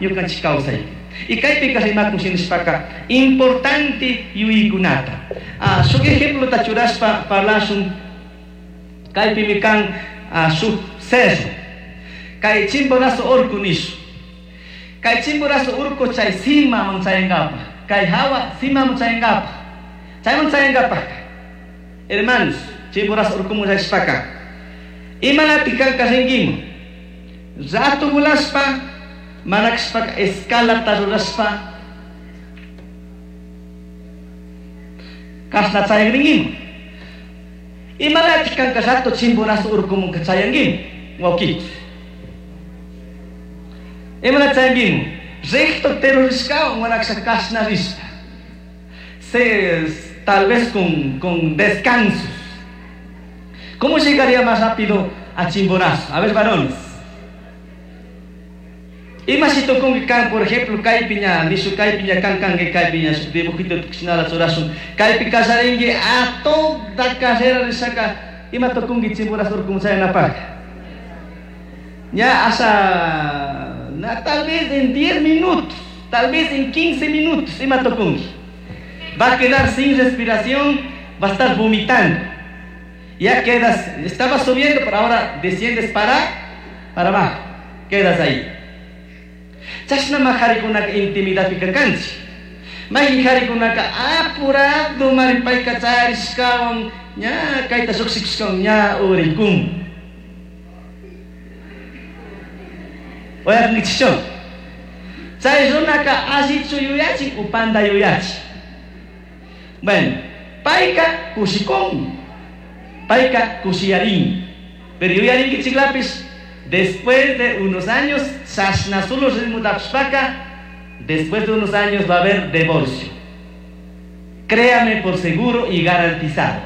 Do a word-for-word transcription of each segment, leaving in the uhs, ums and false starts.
ñukanchik kawsaypi. Y kaypika rimakun shinashpaka importante yuyaykunata. Ah, shuk ejemplota churashpa parlashun kaypimi kan ah, shuk cerro. Kay Chimborazo urku nishu. Kay Chimborazo urku chay simaman chayankapaj. Kay hawa simaman chayankapaj. Chayman chayankapaj. Hermanos, Chimborazo urkuman chayashpaka. Imanatik kanka rinkiman. Rato volashpa, mana kashpaka escalata rurashpa kashna chayagrinkiman. Imanatik kanka rato Chimborazo urkuman chayankiman. Wawkichik. Imana chayankiman. Recto terrorishkawan mana kashaka kashna rishpa. Se, tal vez con, con descansos. ¿Cómo llegaría más rápido a Chimborazo? A ver, varones. Ima si tocongi kan, por ejemplo, kaypiña, nishu kaypiña kan kanki kaypiña, shuk dibujito tushinala churashun. Kaypi kallarinki a toda carrera rishaka, ima tocongi Chimborazo urkuman chayanapaj. Ya hasta, na, tal vez en diez minutos, tal vez en quince minutos, ima tocongi. Va a quedar sin respiración, va a estar vomitando. Ya quedas, estabas subiendo, pero ahora desciendes para, para abajo. Quedas ahí. Chashnama jarikunaka intimidadpika kanchik. Mayqin jarikunaka apurado maripayka charishkawan ña kayta lluqshikushkawan ña urikun. Uyarinkichikchu? Chay runaka allichu yuyachin upanta yuyachin. Bueno, payka kushikun. Payka kushiyarin. Pero yuyarinkichiklapis después de unos años, chashna solo ritmo tapshpaka, después de unos años va a haber divorcio. Créame por seguro y garantizado.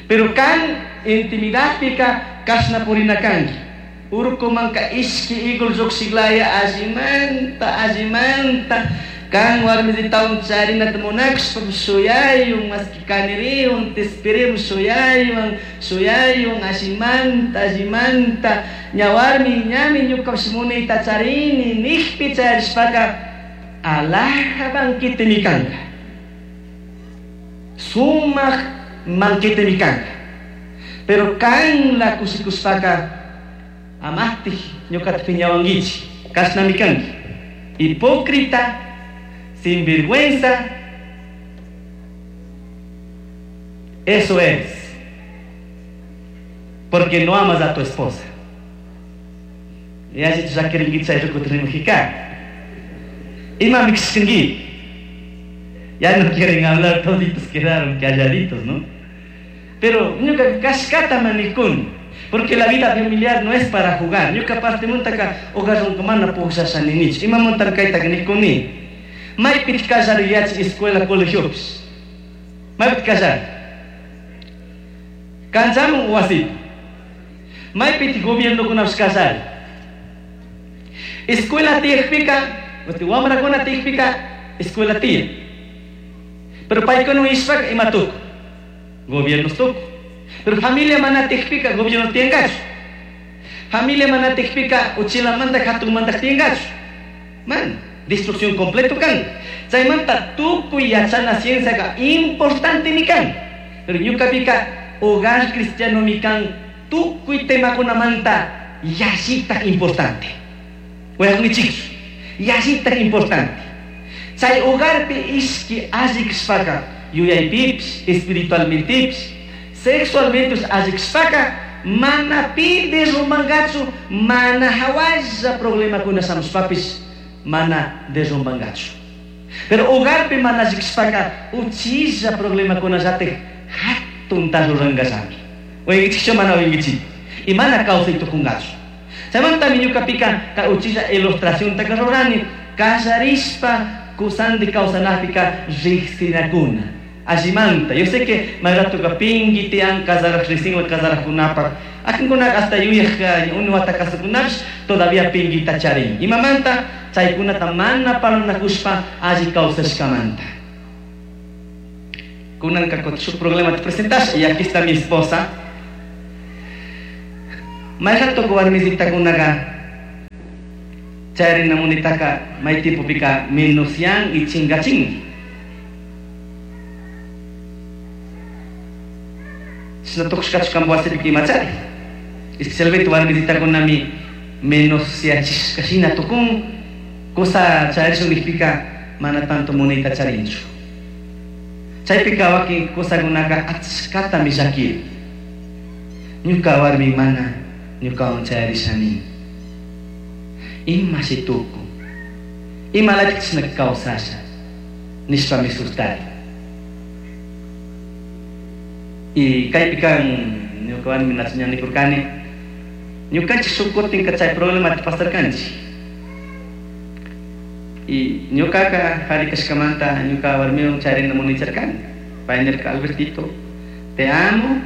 Pero kan intimidad pika kashna purina kanki. Urkumanka ishki igul llukshiklaya allimanta, allimanta. Kan warmisitawan charinata munakshpa shuyayun, maski kaniriyun, tispiriyun, shuyayun, shuyayun, allimanta, allimanta. Ña warmi, ñami ñukapish munayta charini, nijpi charishpaka, alaja banquetemi kanka. Sumaq banquetemi kanka. Pero kan la kushikushpaka, amastij ñukata piñawankichik, kashnami kanki. Hipócrita, sin vergüenza, eso es, porque no amas a tu esposa. Ya ya quieren Ya no quieren hablar, toditos quedaron calladitos, ¿no? Pero ñuka kashkata manikun, porque la vida familiar no es para jugar. Ñuka parte muntaka hogar mana pujshasha ninich. Ima muntan kayta nikuni. Maypit kallari yach escuela colegiopis. Maypit kallari. Kanchamun wasipi. Maypit gobiernokunapish kallari. Escuela tiyakpika, wamrakuna tiyakpika, escuela tiyan. Pero paykuna ishpaka ima tuku. Gobiernos tuku. Pero familia mana tiyakpika, gobierno tiyankachu. Familia mana tiyakpika, uchilamanta hatunmanta tiyankachu. Man. Destrucción completo kan. Chaymanta tukuy yachana ciencia importante mi kan. Pero ñukapika hogar cristiano mi kan tukuy temakunamanta yallita importante. Uyakunkichik, yallita importante. Chay hogarpi ishki allikshpaka yuyaypipish, espiritualmentepish, sexualmente allikshpaka mana pi derrumbangachu, mana hawalla problemakuna shamushpapish mana derrumbangachu. Pero hogarpi mana allikshpaka uchilla problemakunallatik hatunta rurangallami. Uyankichikchu mana uyankichik. Y mana kawsay tukungachu. Chaymantami ñukapika kay uchilla ilustracionta rurani kallarishpa kusandi kawsanapika riqsinakuna. Allimanta. Yo sé que mayratuka pinki tiyan kasaraq riqsinwan kasaraqkunapaq. Akinkunaka hasta yuyaq unu wata kasukunapish todavía pinkita charin. Imamanta chaykunata mana parlanakushpa alli kawsashkamanta. Kunanka shuk problema te presentas y aquí está mi esposa. Mayrato warmisitakunaqa Chayarina munitaka may tiempopika menosyan y chingachin. Chashna tukushkachu kampa wasipika imachari. Especialmente warmisitakunami menosyachishka shina tukun kusa chayarishun nijpika mana tanto munita charinchu. Chaypika wakin kusakunaka achkatami llakiri. Ñuka warmi mana ñukawan chayarishani. Imashi tukun, imalatik chashna kawsasha nishpami sustari. Y kaypika ñuka warmi ña nikurkani ñukanchik shuk kutinka chay problemata pasarkanchik. Y ñukaka qhari kashkamanta ñuka warmiwan chayrina municharkani. Pay nirka, Albertito, te amo,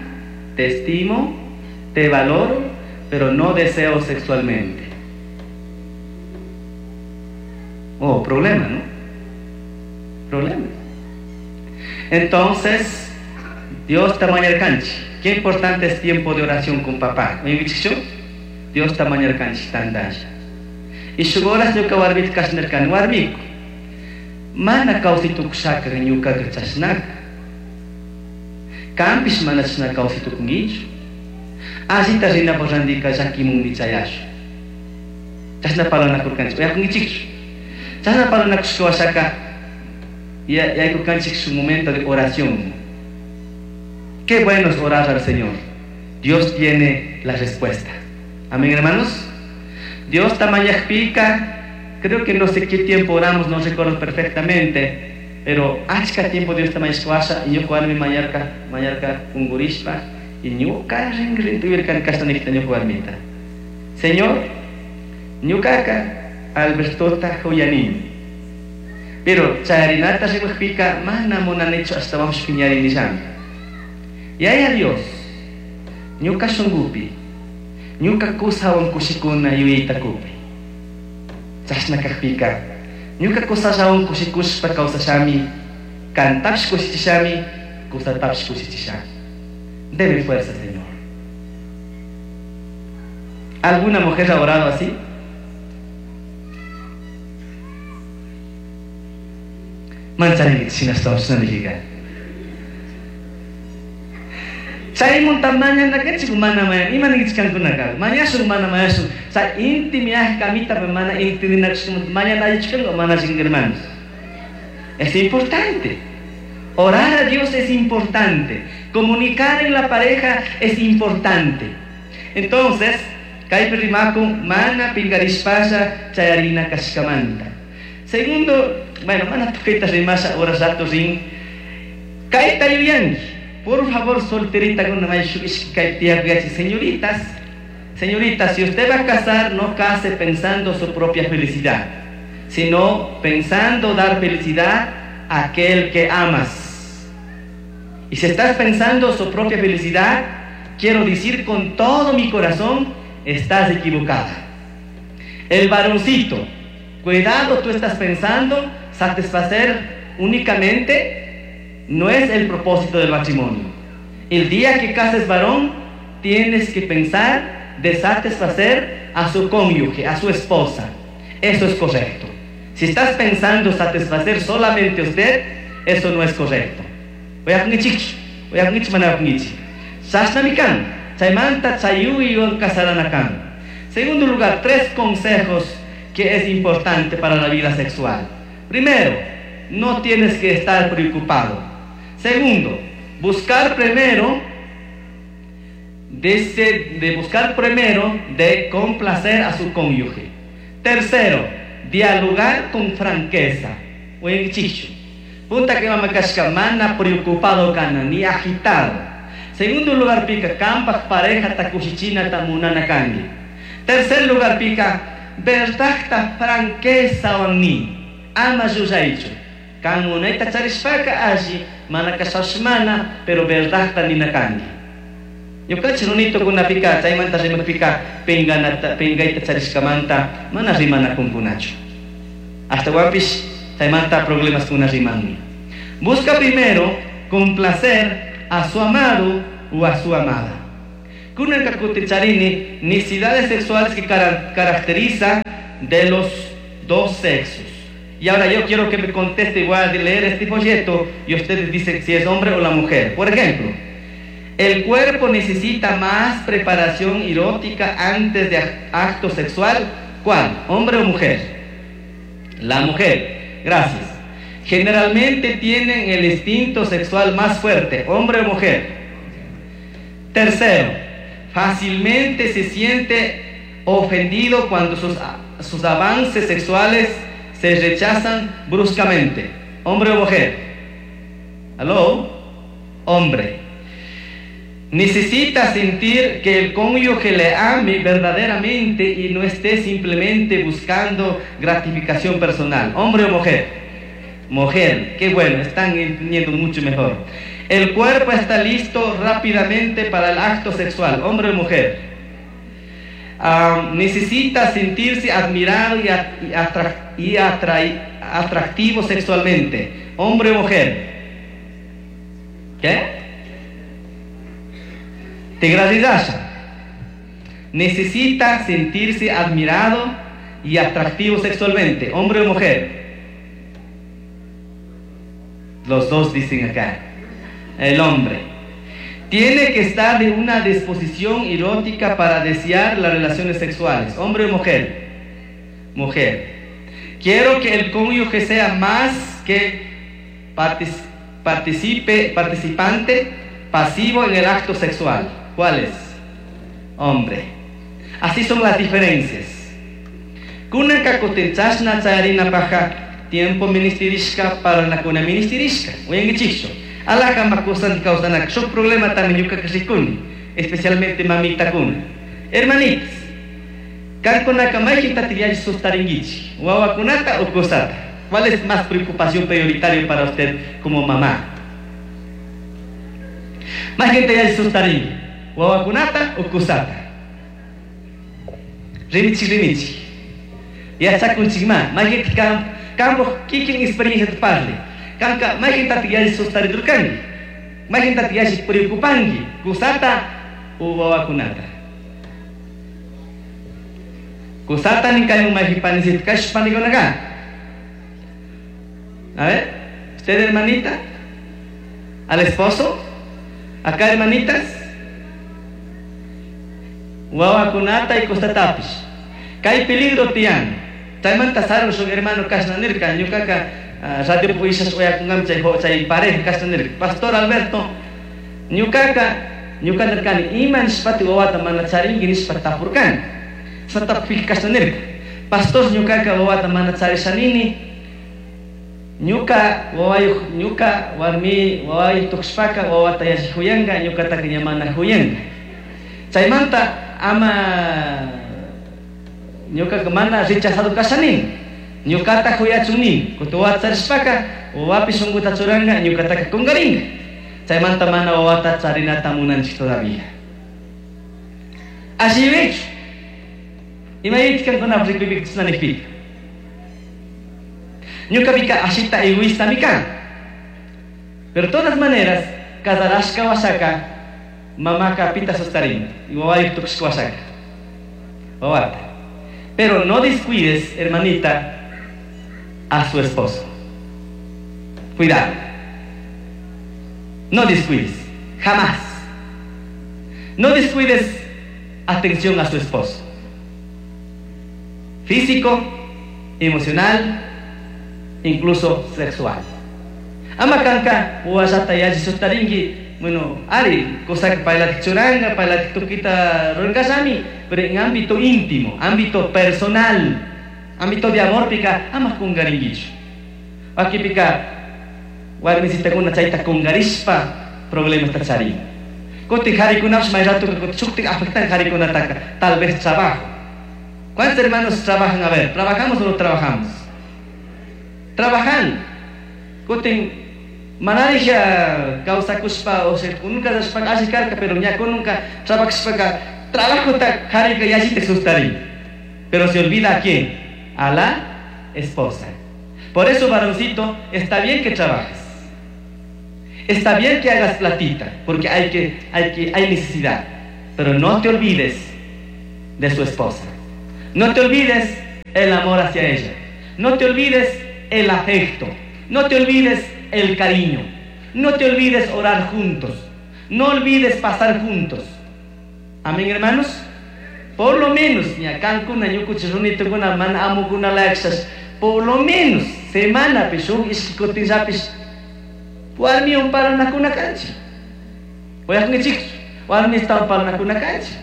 te estimo, te valoro, pero no deseo sexualmente. Oh, problema, ¿no? Problema. Entonces, Dios ta mañarkanchik. Qué importante es tiempo de oración con papá. Dios ta mañarkanchik tandasha. Y shuk horas ñuka warmita kashnarkani, warmiku, mana kawsay tukushaka ñukaka chashnaka. Kampish mana chashna kawsay tukunkichu. Allita rinapaq randika llakimunmi chayashun. Chashna parlanakurkanchik, uyakunkichikchu. Chashna parlanakushka washaka yaykurkanchik su momento de oración. Qué bueno es orar al Señor. Dios tiene la respuesta. Amén, hermanos. Dios tamañajpika, creo que no sé qué tiempo oramos, no recuerdo perfectamente, pero achka tiempo Dios tamañashkawasha, y ñuka warmi mañarka, mañarka kungurishpa, y ñuka rinrin tuvirkan kashna ñuka warmita. Señor, ñukaka Albertota huyanini. Pero chayarinata rimajpika mana munanichu ashtawanpish piñarinillami. Yaya Dios, ñuka shunkupi, ñuka kusawan kushikuna yuyayta kupi. Chashna kakpika, ñuka kusallawan kushikushpa kawsashami, kantapish kushichishami, kusatapish kushichishami. Deme fuerza, Señor. ¿Alguna mujer ha orado así? Mancharinki shinashtawanpish nijika. Chaymunta mañanakanchik mana mañan, ima ninkichik kankunaka, mañashun mana mañashun, chay inti miaj kamita mana intindinakushkamanta mañana allichu kanka mana allichu hermanos. Es importante. Orar a Dios es importante. Comunicar en la pareja es importante. Entonces, kaypi rimakun mana pinkarishpalla chayarina kashkamanta. Segundo, bueno, mana tukayta rimasha horas rato rin. Kayta yuyanki. Por favor, solterita con una señoritas, señoritas, si usted va a casar, no case pensando su propia felicidad, sino pensando dar felicidad a aquel que amas. Y si estás pensando su propia felicidad, quiero decir con todo mi corazón, estás equivocada. El varoncito, cuidado, tú estás pensando satisfacer únicamente. No es el propósito del matrimonio. El día que cases varón, tienes que pensar de satisfacer a su cónyuge, a su esposa. Eso es correcto. Si estás pensando satisfacer solamente a usted, eso no es correcto. Segundo lugar, tres consejos que es importante para la vida sexual. Primero, no tienes que estar preocupado. Segundo, buscar primero de, de buscar primero de complacer a su cónyuge. Tercero, dialogar con franqueza. Punta que mamakashka mana preocupado kana ni agitado. Segundo lugar pica kampak pareja takushichina tamunana kangi. Tercer lugar pica verdadta franqueza wanni ama yuyaychu. Kan munayta charishpaka alli mana kashashmana pero verdadta nina kangi. Ñukanchik runitukunapika chaymanta rimapika pinganata pingayta charishkamanta mana rimanakunkunachu. Ashtawanpish chaymanta problemas kuna rimanmi. Busca primero complacer a su amado o a su amada. Kunanka kuticharini necesidades sexuales que caracteriza de los dos sexos. Y ahora yo quiero que me conteste, voy a leer este folleto y ustedes dicen si es hombre o la mujer. Por ejemplo, el cuerpo necesita más preparación erótica antes de acto sexual. ¿Cuál? ¿Hombre o mujer? La mujer. Gracias. Generalmente tienen el instinto sexual más fuerte, hombre o mujer. Tercero, fácilmente se siente ofendido cuando sus, sus avances sexuales se rechazan bruscamente. ¿Hombre o mujer? ¿Aló? Hombre. Necesita sentir que el cónyuge le ame verdaderamente y no esté simplemente buscando gratificación personal. ¿Hombre o mujer? Mujer. Qué bueno, están entendiendo mucho mejor. El cuerpo está listo rápidamente para el acto sexual. ¿Hombre o mujer? Um, necesita sentirse admirado y, y, atra y atractivo sexualmente. ¿Hombre o mujer? ¿Qué? Tigraridasha. Necesita sentirse admirado y atractivo sexualmente. ¿Hombre o mujer? Los dos dicen acá. El hombre. Tiene que estar de una disposición erótica para desear las relaciones sexuales. ¿Hombre o mujer? Mujer. Quiero que el cónyuge sea más que participe, participante pasivo en el acto sexual. ¿Cuál es? Hombre. Así son las diferencias. Kunanka kutin chashna chayarinapajka tiempo ministerishka parlanakuna ministerishka. Uyankichikchu. Alaka makusan kawsanak shuk problema también ñuka rikuni, especialmente mamitakuna. Hermanitas, kankunaka mayqintataq yalli sustarinkichik, wawakunata o kusata. ¿Cuál es más preocupación prioritaria para usted como mamá? Mayqinta yalli sustarinki, wawakunata o kusata. Rimichik rimichik. Yachakunchikma, mayqinta kampuq kikin experiencia parli. Kanka mayqintataq yalli sustaridurkanki, mayqintataq yalli preocupanki, kusata o wawakunata. Kusata ninkayun mayqin kashpa panikunaka. A ver, usted hermanita, al esposo, acá hermanitas, wawakunata y kusatapish. Kay peligro tiyan. Chaymanta sarun shuk hermano kashna nirka, ñukaka radio puishas uyakunkami chay chay pareja kashna nirka. Pastor Alberto, ñukaka ñuka nirkani ima nishpati wawata mana charinki nishpa tapurkani. Satapik kashna nirka. Pastor ñukaka wawata mana charishanini. Ñuka wawayuq ñuka warmi wawayuq tukushpaka wawata yalli huyanka ñukataka ña mana huyanka. Chaymanta ama ñukaka mana rechazado kashanini. Ñukata huyachun kutin wawata charishpaka wawapi shunkuta churanka ñukataka kunkarinka. Chaymanta mana wawata charinata munanchik todavía. Así Imayit kankunapaq rikuypika chashna nikpika. Ñukapika ashita egoísta kan. Pero de todas maneras, casarashka washaka, mamaka pita sustarin, y wawayuq tukushka washaka. Wawata. Pero no descuides, hermanita, a su esposo. Cuidado. No descuides. Jamás. No descuides atención a su esposo. Físico, emocional, incluso sexual. Ama kanka wawallata yalli sustarinki, bueno, ari, cosa que paylatik churanka, paylatik tukita rurankashami, pero en ámbito íntimo, ámbito personal, ámbito de amor pika, ama kunkarinkichu. Wakipika warmisitakuna chayta kunkarishpa problemasta charin. Kutin harikunapish may ratuka kutin shuktik afectan harikunataka, tal vez trabajo. ¿Cuántos hermanos trabajan? A ver, ¿trabajamos o no trabajamos? Trabajan. Kutin manarija kawsakushpa, o sea, nunca alli karka, pero ña nunca trabajashpaka trabajota harika yallita sustarin. Pero se olvida a quién? A la esposa. Por eso, varoncito, está bien que trabajes. Está bien que hagas platita, porque hay que, hay que, hay necesidad. Pero no te olvides de su esposa. No te olvides el amor hacia ella. No te olvides el afecto. No te olvides el cariño. No te olvides orar juntos. No olvides pasar juntos. Amén, hermanos. Por lo menos, por lo menos, semana pishu ishkikotinllapis warmiwan parlanakuna kanchik. Uyaqnichikchu, warmistawan parlanakuna kanchik.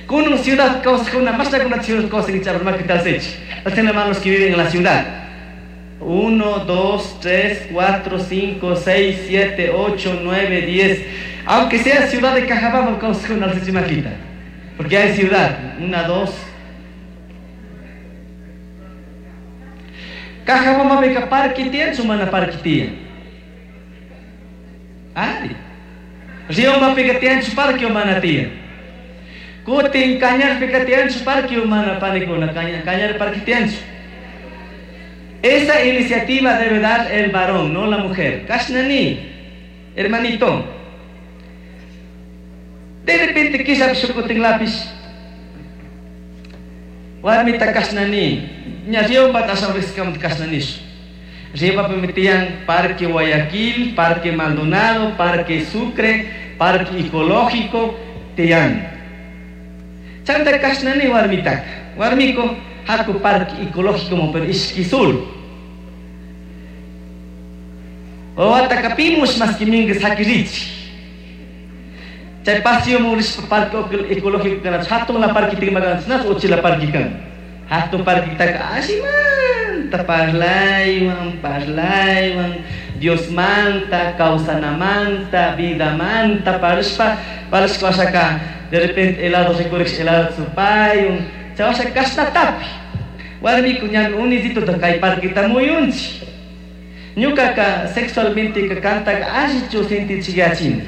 Kunan ciudad kawsaqkuna, mashnakuna ciudad kawsankichik makitalsichik. Hacen hermanos que viven en la ciudad. Uno, dos, tres, cuatro, cinco, seis, siete, ocho, nueve, diez. Aunque sea ciudad de Cajabamba, kawsaqkuna alsichimakita. Porque hay ciudad. Una, dos. Cajabamba pika parque tiyan, sumana parque tiyan. Ari. Riobamba pika tiyan, su parque humana tiyan. Kutin Cañar pika tiyan, su parque humana panikuna, Cañar parque tiyan. Esa iniciativa debe dar el varón, no la mujer. Kashnani, hermanito. De repente quizá shukutin lápiz. Warmita kashnani. Ña Riobamba tasawriskamat kashnanish. Riobamba permitían Parque Guayaquil, Parque Maldonado, Parque Sucre, Parque Ecológico, tian. Chanta kashnani warmitaka. Warmiko haku Parque Ecológico mo pero ishkisul. Wawataka pimush mas kimingas hakirichi. Chay paseo mo rispa Parque Ecológico kana hatun la parque timagan nas uchila parque kan. Hatun parque taka ashimanta parlaywan parlaywan Dios manta kawsanamanta vida manta parishpa parishpa wasaka de repente helado recorrish helado supayun chay wasaka kashnatapi warmiku ñami unisito kay parqueta muyunchi ñukaka sexualmente ka kantaka allichu sintichiyachini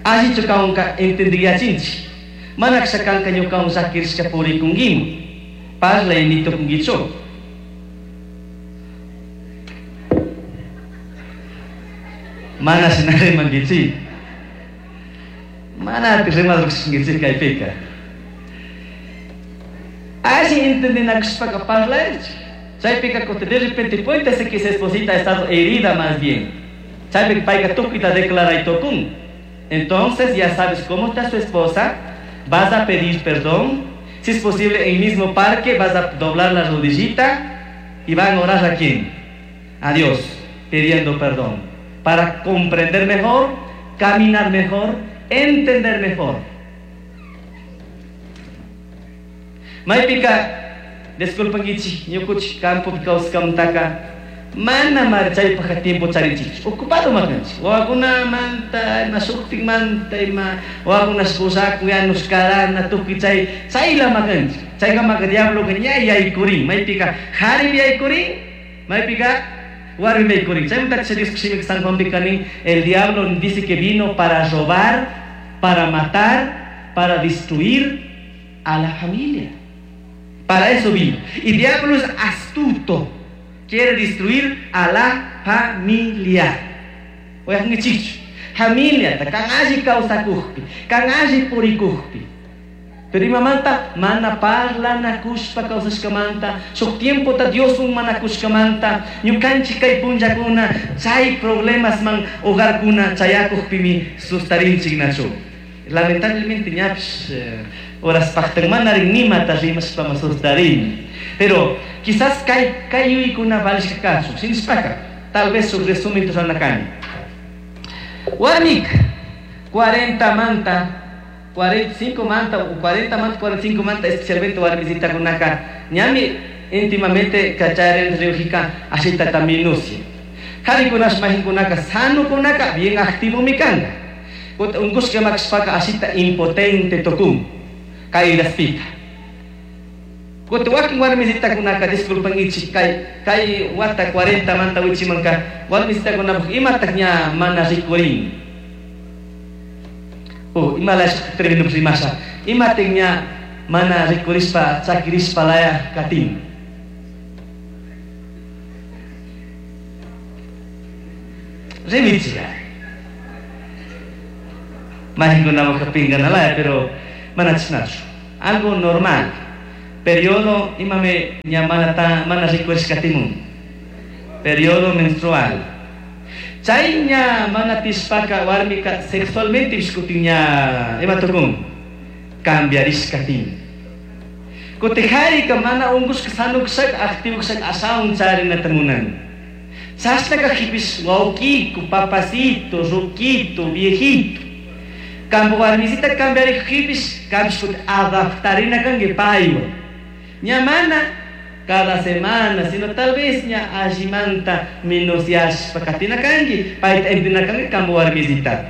allichu kawanka entendiyachinchi mana kashakanka ñukawan llakirishka purikunkimu parlay nitukunkichu. Mana shina rimankichik, mana rimadurkashankichik kaypika. Alli entendinakushpaka parlaychik. Chaypika de repente puede ser que esa esposita ha estado herida más bien. Chaypika payka tukuyta declaraytukun. Entonces ya sabes cómo está su esposa, vas a pedir perdón. Si es posible, en el mismo parque vas a doblar la rodillita y van a orar a quién? A Dios, pidiendo perdón. Para comprender mejor, caminar mejor, entender mejor. Maypika, disculpankichik, ñukuchik campopi kawsaskamantaka mana mari chaypajqa tiempo charinchikchu, ocupado makanchik, wawakunamanta, ima shuktikmanta, ima wawakunash pusakun, yanush karana, tukuy chay chayla makanchik. Chaykamaka diabloka ña yaykurin, maypika qharimi yaykurin, maypika warmi yaykurin. Chaymanta Dios shimika San Juanpika nin, el diablo dice que vino para robar, para matar, para destruir a la familia. Para eso vino. Y diablo es astuto. Quiere destruir a la familia. Oye, familia, kan alli kawsakujpi, kan alli purikujpi. Pero imamanta mana parlanakushpa kawsashkamanta, shuk tiempota Dioswan manakushkamanta, ñukanchik kay punllakuna, chay problemasman hogarkuna chayakujpimi sustarinchik nachu. Lamentablemente ñapish horas paqtanmanarin nimata rimashpama sustarin. Pero quizás kay kay yuykuna valishka kachun, shinashpaka, tal vez su resumen ruranakani. Warmik cuarenta manta, cuarenta y cinco manta, o cuarenta manta, cuarenta y cinco manta, especialmente warmisitakunaka, ñami íntimamente kacharen riujika ashitata minucia. Qarikunash mahinkunaka sanukunaka bien activomi kanka. Unkushka makashpaka ashita impotente tukun, kayraspika. Kuti wakin warmisitakunaka disculpankichik kay kay wata cuarenta manta wichimanka warmisitakunapaq imataq ña mana rikurin. Oh, imalash termino rimasha. Imataq ña mana rikurishpa chakirishpa laya katin. Rimichiga. Mahinkunapaq pinganalaya, pero mana chashnachu. Algo normal. Periodo imame ña mana ta mana rikurishkatimun. Periodo menstrual. Chay ña mana tishpaka warmika sexualmente kutin ña ima tukun cambiarishkatin. Kutin harika mana ungushka sanukushaka activo kushaka ashawan charinata munan. Chashna kajpipish wawkiku, papacito, ruquito, viejito. Kampa warmisita cambiarikpipish kampish kutin adaptarina kanki paywan. Ña mana cada semana, sino tal vez ña allimanta menos yashpa katina kanki, payta entina kanki kampa warmisitata.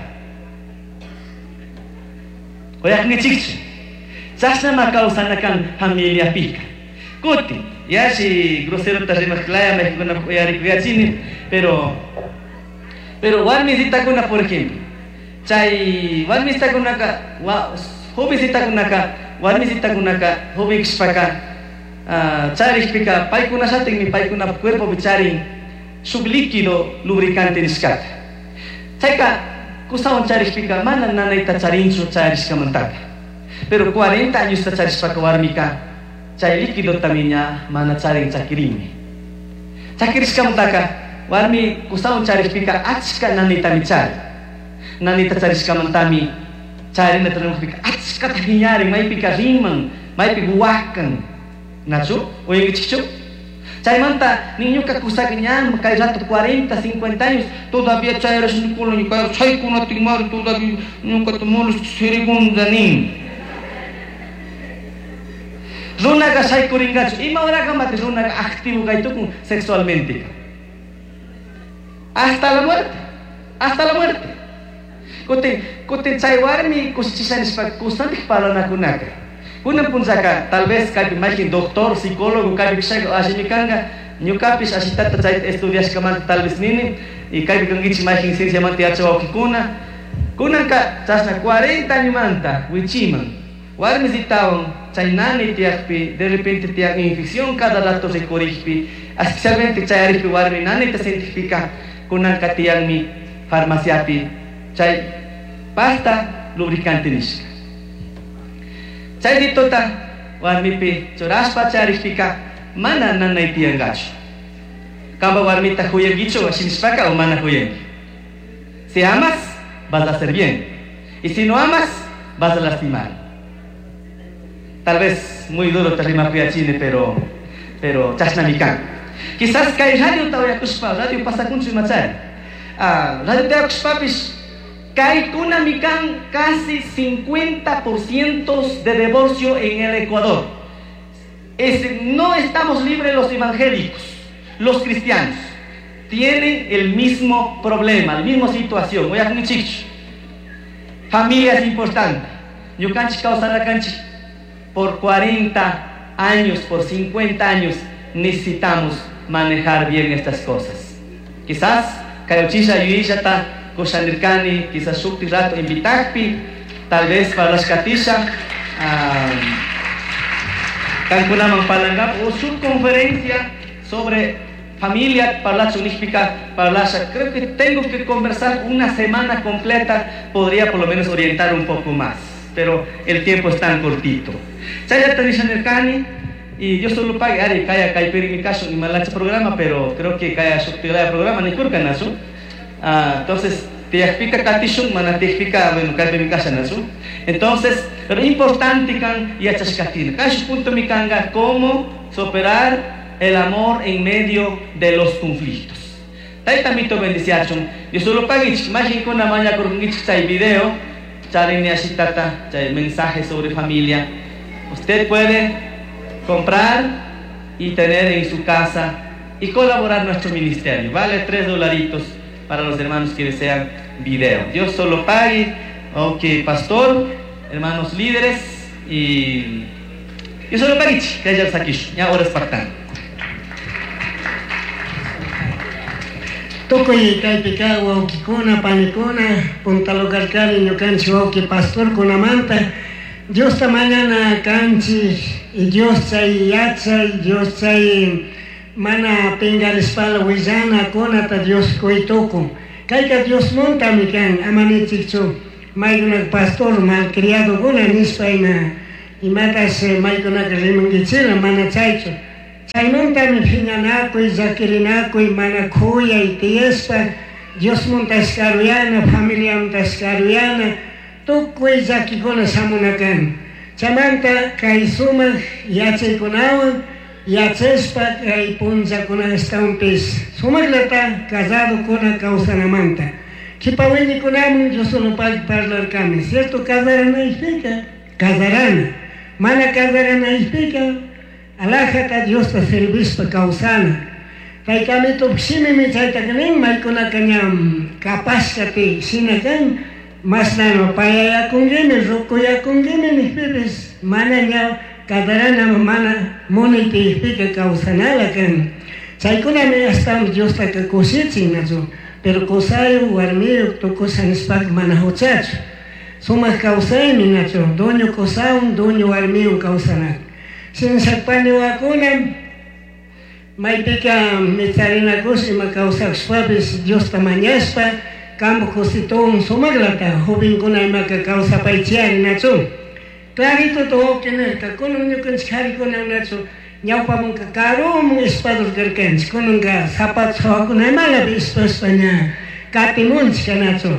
Uyakunkichikchu. Chashnama kawsana kan familiapika. Kutin, yashi grosero ta rimaq laya mayqinkunapaq uyarikuyachini, pero pero warmisitakuna, por ejemplo, chay warmisitakunaka, jovencitakunaka, warmisitakunaka, joven kashpaka, charikpika paykunashatinmi paykunapa cuerpopi charin shuk líquido lubricante nishkata. Chayka kusawan charikpika mana nanayta charinchu charishkamantaka. Pero cuarenta añosta charishpaka warmika chay líquidotami ña mana charin chakirinmi. Chakirishkamantaka warmi kusawan charikpika achka nanaytami charin. Nanayta charishkamantami charinata rimaqpika achkata phiñarin, maypika riman, maypika wakan. Nachu, uyankichikchu? Chaymanta niñuka kusaka ña kay rato cuarenta, cincuenta años todavía chayrashnikuna ñuka chaykunatinmari todavía ñukata molesta sirigunda nin. Runaqa shaykurinkachu, ima horakamati runaqa activo kaytukun sexualmente. Hasta la muerte, hasta la muerte. Kutin, kutin chay warmi kushichisha nishpa kusantik parlanakunaka. Kunan punchaka tal vez kaypi mayqin doctor, psicólogo kaypi kashaka allimi kanka, ñukapish ashitata chayta estudiashkamanta tal vez nini, y kaypi kankichik mayqin cienciamanta yachawawkikuna. Kunanka chashna cuarenta añomanta wichiman warmisitawan chay nani tiyakpi de repente tiyak infección cada rato rikurikpi, especialmente chayarikpi warmi nanita sentikpika, kunanka tiyanmi farmaciapi chay pasta lubricante nishka. Chay ditota warmipi churashpa charikpika mana nanay tiyankachu. Kampa warmita huyankichu ashinishpaka o mana huyanki. Si amas, vas a hacer bien. Y si no amas, vas a lastimar. Tal vez muy duro te rimapuyachini, pero pero chashnamikan. Quizás kay radio tawayakushpa, radio pasakunchu imachari. Ah, radio tawayakushpapish kaykunamikan casi cincuenta por ciento de divorcio en el Ecuador. Es, no estamos libres los evangélicos, los cristianos. Tienen el mismo problema, la misma situación. Oye, familia es importante. Ñukanchik kawsanakanchik por cuarenta años, por cincuenta años, necesitamos manejar bien estas cosas. Quizás kayuchisha yuyishata kushanirkani, quizás shukti rato invitakpi, tal vez parlashkatisha, kankunaman parlankap o su conferencia sobre familia parlachu nishpika parlasha. Creo que tengo que conversar una semana completa, podría por lo menos orientar un poco más, pero el tiempo es tan cortito. Chayata nishanirkani, y yo solo pagué, ari kaya kaypiri mi caso y malacha programa, pero creo que kaya shuktilaya programa ni kurkanasu. Ah, entonces, tiyakpika katishun, mana tiyakpika, bueno, kaypi mi casa nasu. Entonces, pero importante kan yachashkatina. Kash punto mi kanga, cómo superar el amor en medio de los conflictos. Tayta mito bendiciachun. Yo solo paguich, majinkuna maña kurkungichik chay video, charini ashitata, chay mensaje sobre familia. Usted puede comprar y tener en su casa y colaborar nuestro ministerio. Vale tres dolaritos para los hermanos que desean video. Dios solo pague. Ok, pastor, hermanos líderes y yo solo pague, que haya saquish. Ya horas pactan. Tukuy kaypika wawkikuna panikuna punta lugarkari ñukanchik wawki pastorkunamanta Diosta mañana kanchik Dios chay yachay Dios chay mana pingarishpala willana kunata Dios kuytukun kayka Diosmuntami kan ama nichikchu maykuna pastor malcriadokuna nishpa ima Imatas maykunaka rimankichila mana chaychu. Chaymantami phiñanakuy, llakirinakuy, mana khuyay tiyashpa, Diosmuntash karuyana, familiamuntash karuyana, tukuy llakikuna shamuna kan. Chaymanta kay sumaq yachaykunawan yachashpa kay punllakuna ashtawanpis sumaqllata casadokuna kawsanamanta. Qhipa wiñikunaman Diosolopaq parlarkani, cierto casaranaypika casarana, mana casaranaypika alajata Diosta servishpa kawsana. Taytami shimimi chaytaqa nin maykunaka ña kapashkati shina kan mashnano payayakunkimi rukuyakunkimi nijpipis mana ña casarana mana munaytiypika kawsanala kan. Chaykunami ashtawan Diostaka kushichin nachu, pero kusayuq warmiyuq tukusha nishpaka mana huchachu. Sumaq kawsaymi nachu, dueño kusawan dueño warmiwan kawsanaka. Shinashak paniwakuna maypika micharinakush ima kawsakushpapis Diosta mañashpa kampak kusituwan sumaqlata jovenkuna imaka kawsapaychiyari nachu. Clarito wawqi nirka kunan ñukanchik qarikuna nachu ñawpamanka karuman ispadur karkanchik kunanka zapatos hawakuna imalapi ispashpa ña katimunchik nachu.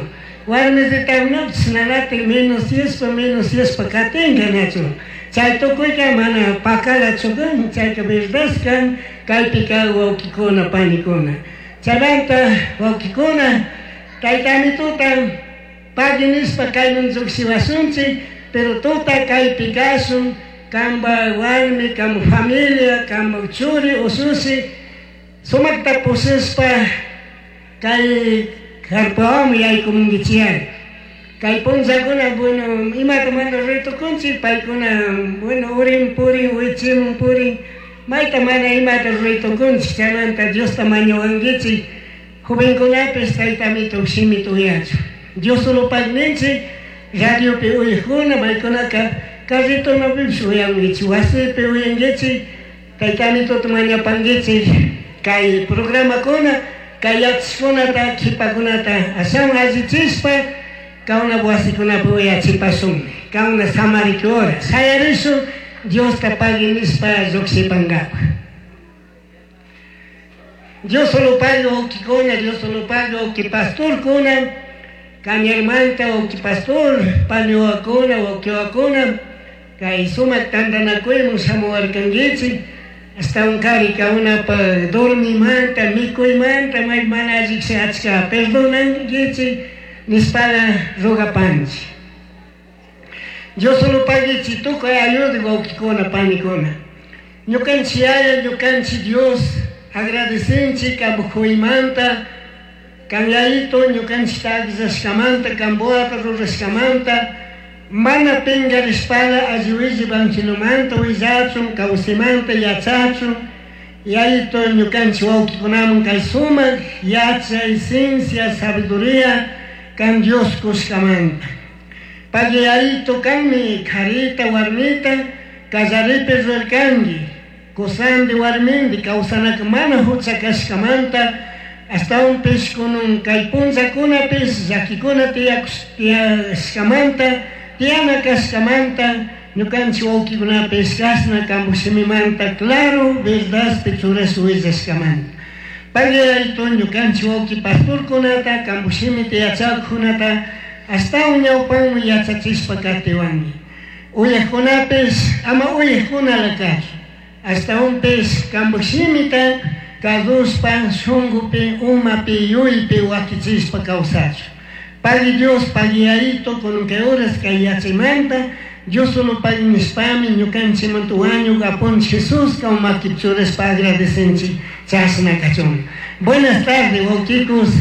Warmisitakunapish nanatik menos yashpa menos yashpa katinka nachu. Chay tukuyka mana pakalachu kan, chayka verdad kan kaypika wawqikuna panikuna. Chaymanta wawqikuna taytamituta pagui nishpa kayman lluqshiwasunchik, pero tuta kaypi kashun kamba warmi, kamba familia, kamba churi usushi sumakta pushishpa kay carpawaman yaykumunkichiyari. Kay punllakuna bueno imata mana ritukunchik paykuna bueno urin purin wichimun purin mayta mana imata ritukunchik chaymanta Diosta mañawankichik jovenkunapis taytamito shimita uyachu. Diosolopaqninchik radiopi uyaqkuna maykunaka carritonapipish uyankichik wasipi uyankichik taytamituta mañapankichik kay programakuna kay yachashkunata qhipakunata ashawan allichishpa kawna wasikunapi uyachipashunmi kawna samariki hora shayarishun Diosta pagui nishpa llukshipankapaq. Dios solo paga wawqikuna, Dios solo paga wawqi pastorkuna, Cañarmanta wawqi pastor, paniwakuna, wawqiwakuna, kay sumaq tantanakuyman shamuwarkankichik, ashtawan kari kawnapaq dormimanta, mikuymanta, may mana allishi achka perdonankichik nishpala rugapanchik. Dios solo paguichik tukuy ayuda wawqikuna, panikuna. Ñukanchik Yaya, ñukanchik Dios, agradecenchik kampuymanta, kan yayito ñukanchikta akllaskamanta, kambuata rurashkamanta, mana pinkarishpala alli evangelomanta willachun, kawsaymanta yachachun, yayito ñukanchik wawqikunaman kay sumaq yachay, ciencia, sabiduría kan Dios kushkamanta. Pagui yayito kanmi karita warmita kallaripi rurarkanki, kusandi warmindi kawsanaka mana hucha kashkamanta, ashtawanpish kunan kay punllakunapis llakikuna tiyashkamanta, tiyana kashkamanta, ñukanchik wawqikunapis kashna kampak shimimanta claro verdadpi churash willashkamanta. Pagui yayito ñukanchik wawqi pastorkunata kampak shimita yachakkunata ashtawan ñawpanman yachachishpa katiwanki. Uyaqkunapis ama uyaqkunala kachun, ashtawanpis kampak shimita kadushpa shunkupi umapi yuypi wakichishpa kawsachun. Pagui Dios, pagui yayito kunan kay horas kay yachaymanta Dios solo pagui nishpami ñukanchikmanta wañuk Apunchik Jesús kaw makipi churashpa agradecenchik chashna kachun. Buenas tardes wawqikus.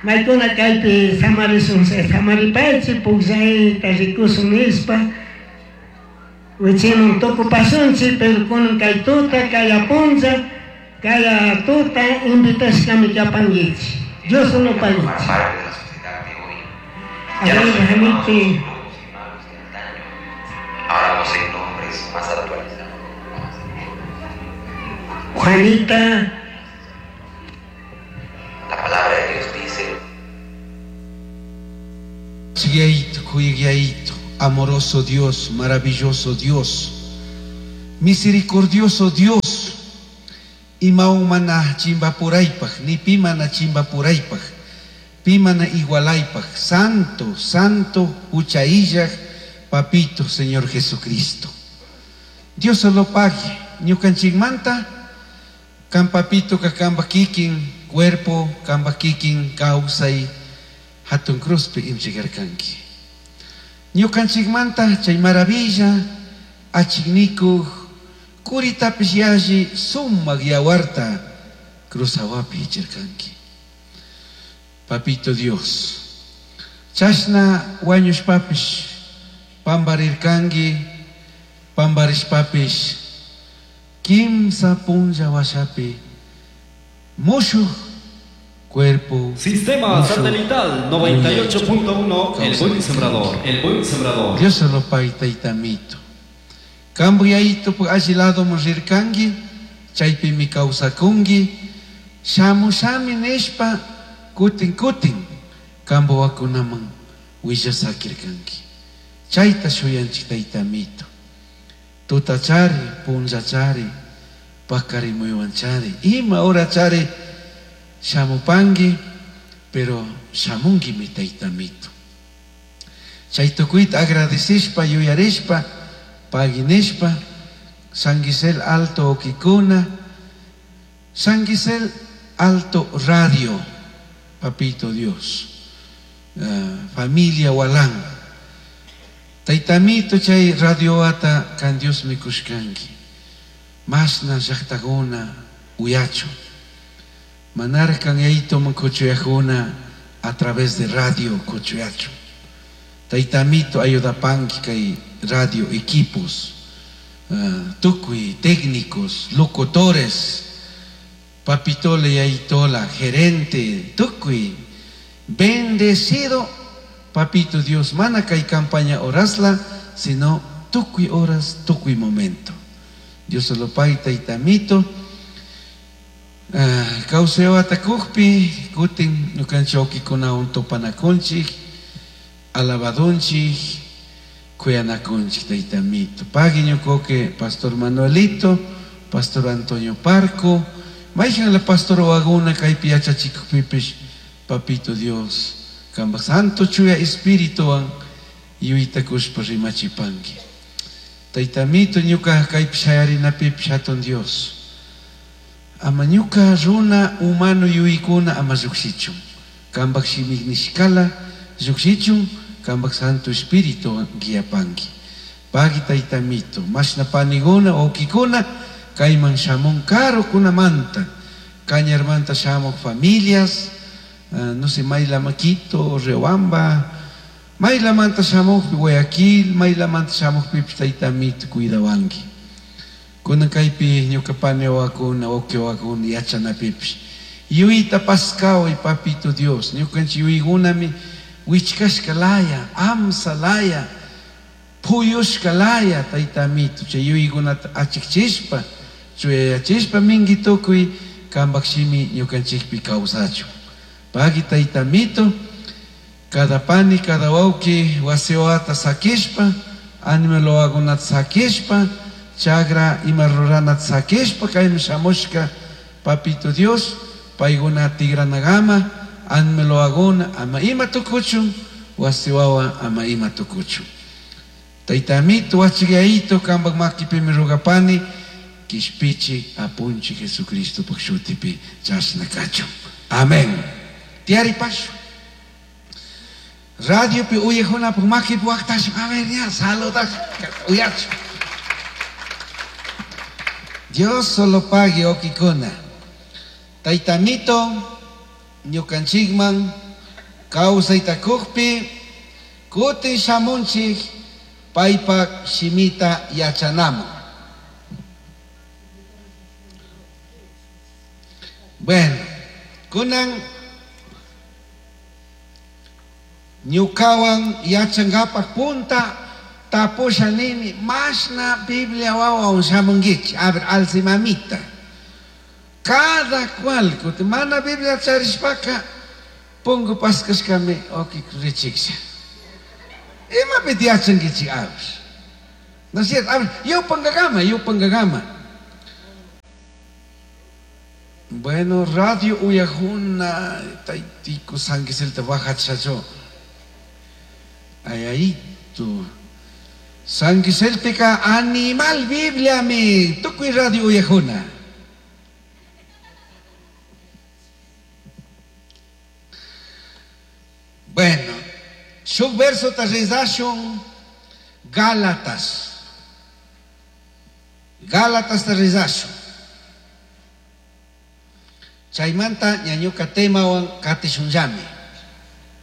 Maykuna kaypi samarishun samaripaychik pukllayta rikushun nishpa wichiman tukupashunchik, pero kunan kay tuta kay apuncha kay tuta invitashkami kapankichik. Dios solo paguichik. Parte de la sociedad de hoy. A Ya no ver, son llamados Janete. brujos y magos de antaño. Ahora poseen nombres más actualizados. Juanita. La palabra de Dios dice: Yaito, kuyayito, Amoroso Dios, maravilloso Dios, misericordioso Dios, imaun mana chimbapuraypaj, ni pi mana chimbapuraypaj, pi mana igualaypaj, santo, santo, huchaillaj, papito, Señor Jesucristo. Dios solo pague, ñukanchikmanta, kan papito ka kamba kikin, cuerpo, kamba kikin, kawsay, hatun cruzpi inchigarkanki. Ñukanchikmanta chay maravilla, achiknikuq, kuritapis yalli sumaq yawarta cruzawapi hichirkanki. Papito Dios, chashna wañushpapish pambarirkanki, pambarishpapish kimsa punlla washapi mushuq cuerpo. Sistema satelital noventa y ocho punto uno, El Buen Sembrador, El Buen Sembrador. Dios solo pague taytamito. Kambuyaito alli lado rirkanki, chaypi mi kawsakunki, shamushami nishpa kutin kutin kambuwakunaman willasakirkanki. Chayta shuyanchik taytamito. Tutachari, punllachari, pakarimuywanchari, ima horachari shamupanki, pero shamunkimi taytamito. Chay tukuyta agradecishpa, yuyarishpa, paginishpa, San Gisel Alto Okikuna, San Gisel Alto Radio, Papito Dios, uh, familia Walán, Taytamito chay radio ata kan Dios mikushkanki, masna llaqtakuna uyachu, manarkan yaito mankuchuyajuna a través de radio kuchuyachu. Taytamito ayudapanki kay radio equipos, uh, tukuy técnicos, locutores, papitola y aitola, gerente, tukuy, bendecido papito Dios, mana kay campaña horasla, sino tukuy horas, tukuy momento. Dios se lo pague taytamito. Uh, Kauseo atakukpi, kutin ñukanchik kunawan tupanakunchik, alabadunchik, kuyanakunchik taytamito. Pague ñukoke Pastor Manuelito, Pastor Antonio Parco, mayhan la Pastor Waguna kaypi yachachikukpipish, Papito Dios, kamba Santo Chuya Espirituwan yuytakushpa rimachipanki. Taytamito ñuka kaypi shayarinapipish hatun Dios. Ama ñuka runa humano yuykuna ama llukshichun. Kambak shimik nishkala llukshichun, kambak Santo Espíritu guiapanki. Pagui taytamito, mashna paniguna, okikuna, kayman shamun karukunamanta, Cañarmanta shamuq familias, uh, no sé, Maylamaquito, Riobamba, Maylamanta shamuqpi Guayaquil, Maylamanta shamuqpipish taytamito cuidawanki. Kunan kaypi ñuka paniwakuna, ukiwakuna, yachanapipish. Yuyta paskaway, papito Dios, ñukanchik yuykunami wichkashka laya, amsa laya, puyushka laya, taytamito, chay yuykunata achikchishpa, chuyayachishpa minki tukuy kambak shimi ñukanchikpi kawsachun. Pagui taytamito, cada pani, cada wawqi wasiwata sakishpa, animalwakunata sakishpa, chagra ima ruranata sakishpa, kayman shamushka, papito Dios, paykuna tigranagama, animalwakuna ama ima tukuchun, wasiwawa ama ima tukuchun. Taytamito, wachigayito, kambak makipimi rugapani, kishpichi apunchi Jesucristo pakshutipi chashna kachun. Amén. Tiari pashu. Radio pi uyajunapuk makipi waqtashun. A ver, ya, saludash, uyachu. Dios solo pague okikuna. Taytamito, ñukanchikman, kawsaytakukpi, kutin shamunchik, paypak shimita yachanaman. Bueno, kunan ñukawan yachankapak punta tapusha nini mashna Biblia wawan shamunkichik. A ver, alce mamita. Cada cual, kuti mana Biblia charishpaka, pungu paskashkami oki richiksha. Imapi yachankichik a ver. ¿No es cierto? A ver, yupangagama, yupangagama. Bueno, radio uyajuna, taitico sanguiselta bajachacho. Ay, ahí tu. Sanguiseltica animal Biblia mi, tukuy radio uyajuna. Bueno, shuk verso ta rezashun Gálatas. Gálatas ta rezashun. Chaymanta ñañuka temawan katishunllami.